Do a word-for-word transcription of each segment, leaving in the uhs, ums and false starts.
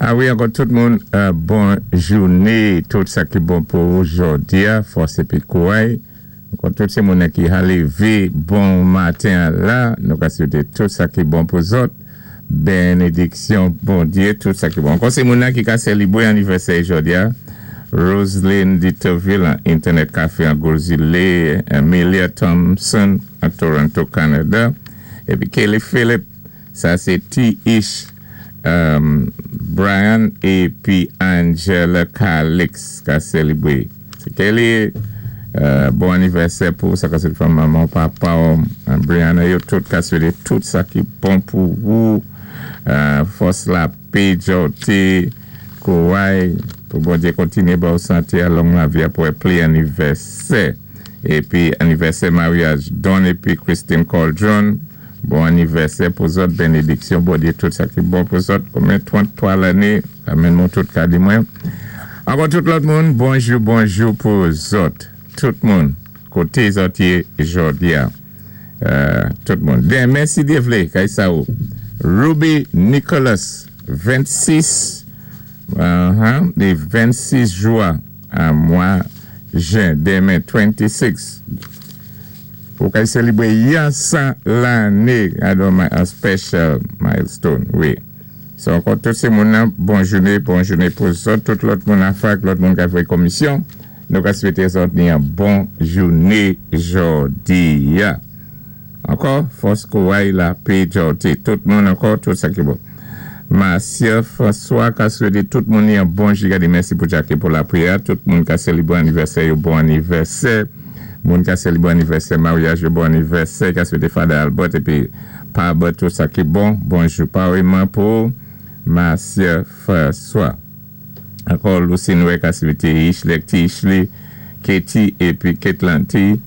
A wi, ankò tout moun, euh, bon jouné, tout sa ki bon pou jòdi-a, fòs épi kouway. Ankò tout sé moun ki ka lévé bon maten la, nou ka swété tout sa ki bon pou zòt. Bénédiksyon, Bondyé, tout sa ki bon. Ankò sé moun ki ka sélibwé anivèsè jòdi-a. Roselyne Ditterville, Internet Café an Gwo Zilé, Amelia Thompson à Toronto, Canada. Épi Kelly Phillip, sa sé T. Ish, um, Brian épi Angela Calix ka sélibwé. Sé Kelly, euh, bon anivèsè pou sa ka sé fanmi manman, papa, Brianna, yo tout ka swété tout sa ki bon pou ou. Euh, fòs lapé, jòté, kouway, pou Bondyé kontinyé ba ou santé a long lavi pou pli anivèsè. Épi anivèsè maryaj Don épi Christine Cauldron. Bon anivèsè pou zòt, bénédiksyon, Bondyé tout sa ki bon pou zòt. Konbyen tranntwa lanné, amèn mwen tout ka di mwen. Ankò tout lòt moun, bonjou, bonjou pou zòt. Tout moun, koté zòt yé jòdi-a. Euh, tout moun. Denmen si Dyé vlé, kay sa ou. Ruby Nicholas, vennsis, uh-huh, lé vennsis jwen, a mwa jen, denmen vennsis. Pou kay sélibwé yon san lanné, alò a special milestone, wi. So, ankò tout sé moun bon jouné, bon jouné pou zòt, tout lòt moun an fak, lòt moun ka fè komisyon. Nou ka swété zòt ni yon bon jouné jòdi-a. Ankò, fòs kouway lapé jòté. Tout moun ankò, tout sa ki bon. Marcia François ka swété tout moun yon bon jou. Mèsi pou Jackie pou lapriyè. Tout moun ka sélibwé anivèsè, yon bon anivèsè. Moun ka sélibwé anivèsè, maryaj, yon bon anivèsè. Ka swété Father Albert épi Pa Albert tout sa ki bon. Bonjou, pareillement pou Marcia François. Ankò, Lucy Noé ka swété Ishley, Tishley, Katie épi Ketlanti.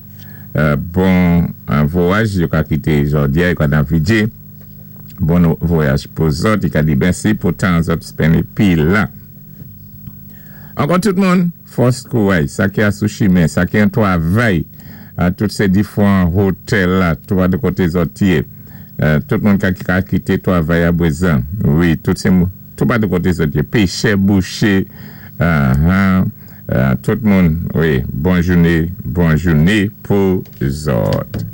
Euh, bon vwayaj, yo ka kité jòdi-a, yo ka nan V J. Bon vwayaj pou zòt, yo ka di mèsi pou tan zòt spend épi la. Ankò tout moun, fòs kouway, sa ki a sou chimen, sa ki an twavay, tout sé difwan otèl la, tou de koté zòt yé. Euh, tout moun ka ka kité twavay a bwézan. Wi, tout sé tou pa de koté zòt yé. Péchè, bouché, uh, uh, tout moun, wi, bon jouné, bon jouné pou zòt.